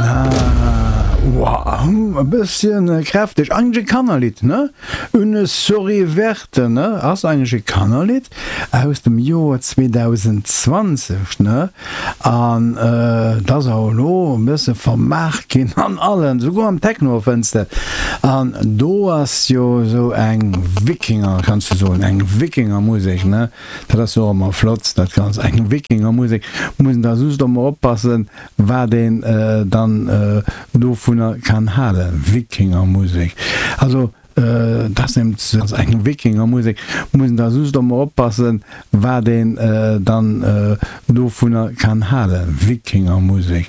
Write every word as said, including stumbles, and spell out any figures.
Ah, wow, e bësschen kräfteg. Eigentlech e Kannerlidd, ne? Une souris verte, ne? Ass eigentlech e Kannerlidd aus dem Joer zweedausendzwanzeg, ne? An et ass awer elo e bësse vermaart ginn an allen, souguer am Techno fënns de et. An do ass jo esou eng Wikinger, kanns du soen, eng Wikingermusek, ne? Dat ass jo och ëmmer flott, dat Ganzt, eng Wikingermusek. Muss een da just ëmmer oppassen, wat een dann dovunner kann halen, Wikingermusek. Also dat ass nämlech eng Wikingermusek, muss een da just ëmmer oppassen, wat een dann dovunner kann halen, Wikingermusek.